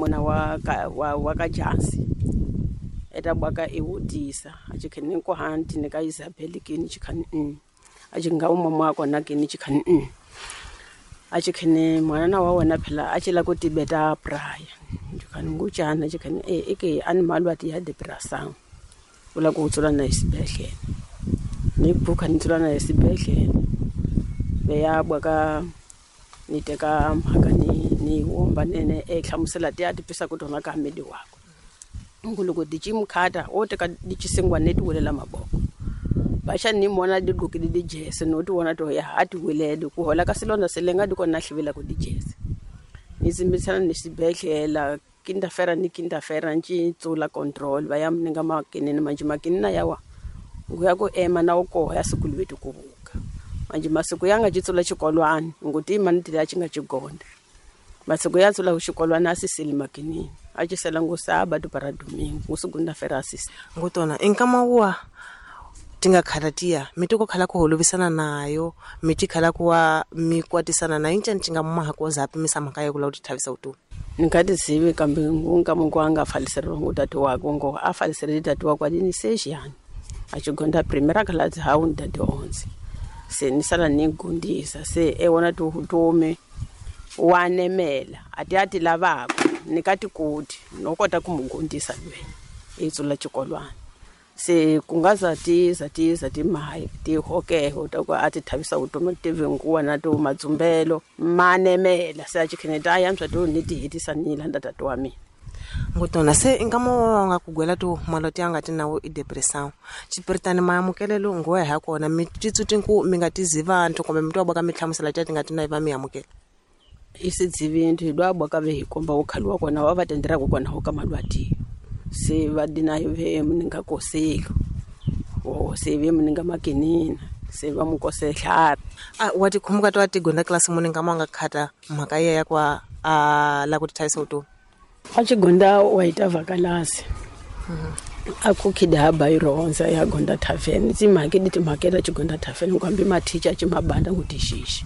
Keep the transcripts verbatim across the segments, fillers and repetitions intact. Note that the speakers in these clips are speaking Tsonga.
muna wa ka wa, wa ka Jansi eta bwaka e wutisa a ci kheni ko hanti ni ka Isabel kini ci khani mm a ci nga umama wa kona kini ci khani mm a ci kheni mwana wa wona phela a ci la ku tibeta praya ci khani nguchana ci khani e eke animal wa ti ya depressant ula ku tsula na isibedlela ni buka ni tsula na isibedlela be ya bwaka ni teka mhaka ni ni womba nene e hlamusela ti ya tipisa ku tona ka medi wako nguluko dichimkhata o teka dichisengwa neti welela maboko basha ni mona digqokile dijese no tiwona to ya hati welele ku hola ka silonda selenga dikona hlivela ku dijese ni zimbisana ni xibedlela kindafera ni kindafera nci tsula control va ya mninga makinini manje makinina yawa nguya ku ema na ukoha ya siku lwetu ku vuka manje masiku yanga citsula xikolwana nguti imani tila ci nga cigonda masiku ya tsula xikolwana a siseli makinini a ci sela ngu sábado para domingo ngu segunda-feira a sisi ngutona inkama wa tinga khalatia mitoko khala ku holovisana nayo miti khala kuwa mikwatisana na incha ncinga maha ko zapi misa mhaka ya ku la ku tithavisa vutomi ni nga tizivi kambe nkama ku a nga faliseriwa ngu tati wakwe ngo a faliserile tati wakwe adini sexiyani a xigonda primera class hawu ni tati onze se ni sala ni gundisa se e wona tivutomi wa nemela a ti a ti lavaka ni ka tikoti no kota ku mu gundisa lwe i tsula xikolwana se ku nga za ti za ti za ti mahi ti hokeho ta ku a ti thavisa vutomi ti vinguwa na to madzumbelo ma nemela se a chikheneta a yantswa to ni ti hetisa ni landa tati wa mina ngutona se nkama wa nga ku gwela to maloti ya nga ti nawo i depression xipiritani maamukelelo nguwa ha kona mi titsuti ku mi nga tizi vantu kumbe mi twa boka mi hlamusela ti nga ti na va mi amukela isidzivintu hi lwa boka ve hi komba wu khaliwa kona wa va tenderaka kona ho ka malwati se va dina ve muninga koselo o se ve muninga makinina se va mu kosehla a wa tikhumuka to atigonda class muninga ma nga khata mhaka ya ya kwa a la ku tithavisa vutomi a xigonda wa ita vakalasi a kukhida ha bayironza ya gonda tavern timhaka di timhaka ta xigonda tavern kwambi mathicha chimabanda ngutixixi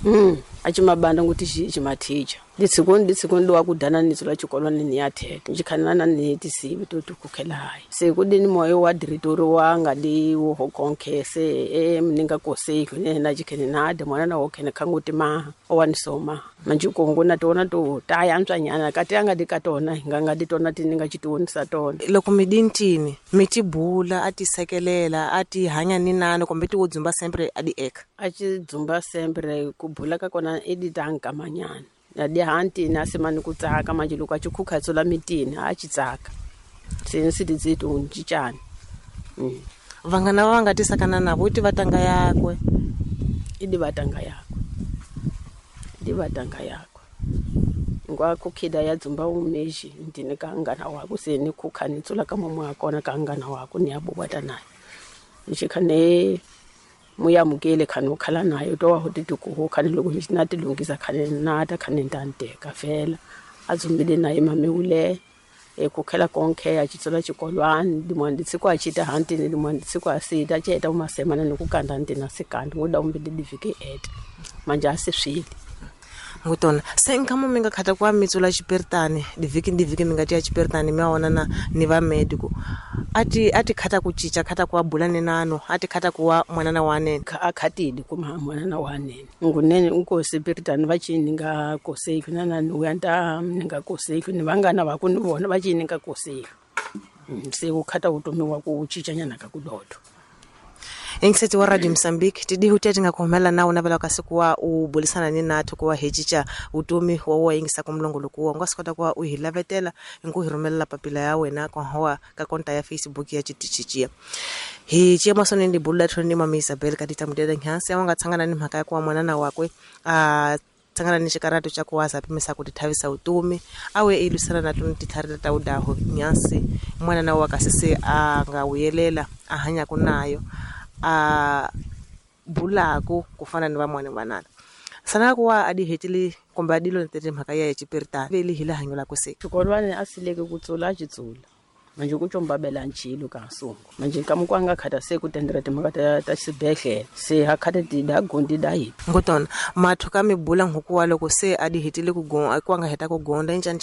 mm a chimabanda ngutixixi mathicha ditsikoni ditsikoni wa ku dana ni tsula xikolwana ni ya theta xikhanana ni tisivi to tikukhela hayi se ku dini moyo wa diretori wa nga di wo hokonke se e mninga koseki ne na xikhene na de mwana na wokhene khanguti ma wa ni soma manje kongo na tona to ta ya ntswanyana ka ti nga di ka tona nga nga di tona ti ni nga xitionisa tona loko mi dintini mi tibula a ti sekelela a ti hanya ni nani kumbe ti wo dzumba sempre a di eka a ci dzumba sempre ku bula ka kona i di tankamanyana na di hanti na semani ku tsaka manje loko a ci khukha tsula mitini a ci tsaka se ni si ti to ncicana mm. Vanghana va nga tisakana na vo ti va tanga yakwe i di va tanga yakwe di va tanga yakwe ngwa kukhida ya dzumba umeji ndini ka ngana wako se ni khukha ni tsula ka momo akona ka ngana wako ni abubata naye nxikhane muyamukele khani u khala naye to wa ho tituku khani loko mi na tilungisa khani na ta khani ntanteka fela a dzumbile naye mame e kukhela konke a chitsula xikolwana dimwana ditsiko a chita hantini dimwana ditsiko a sita cheta umasemana ni ku kanda ntina sikandi ngoda umbili divike eta manje a siswile ngutona se nkama mi nga khata kwa mitsula xipiritani divhiki ni divhiki mi nga tiya xipiritani mi wona na ni va medico ati ati khata ku cinca khata ku bula ni nano ati khata ku wa mwanana wa nene a khatidi kuma mwanana wa nene ngunene unkosi piritani va cini nga koseki na na ni ta ni nga koseki ni vangana va ku ni vona va cini nga koseki se u khata vutomi wa ku cincanyana ka ku dodo Ingiseti wa Radio Mozambique tidihu tete nga kuhumela na unavela kasi kuwa ubulisana ni nathu kuwa hechicha utomi wa wa ingisa kumlongolo kuwa nga sikota kuwa uhilavetela nku hirumelela papila ya wena kwa hoa ka konta ya Facebook ya chitichichia hi chia masoni ndi bula thoni mama Isabel katita mudeda nyansi awanga tsangana ni mhaka ya kuwa mwanana wakwe a tsangana ni xikarato xa ku waza pimisa ku tithavisa vutomi awe ilusana na tuni titharita ta udaho nyansi mwanana wa kasi se a nga wuyelela a hanyaka nayo a bulaku kufana ni vamwana vanana sana kuwa adi hetile kumbe adilo ntete mhaka ya xipiritani veli hila hanyo la kuse xikolwana a sileke ku tsula a xitsula manje ku combabela ncilo ka sungu manje nkamukwanga khata se ku tendera timhaka ta ta xibedhlele se ha khata ti da gondi da hi ngotona mathu ka mi bula nhuku wa loko se adi hetile ku gonda ku nga heta ku gonda incani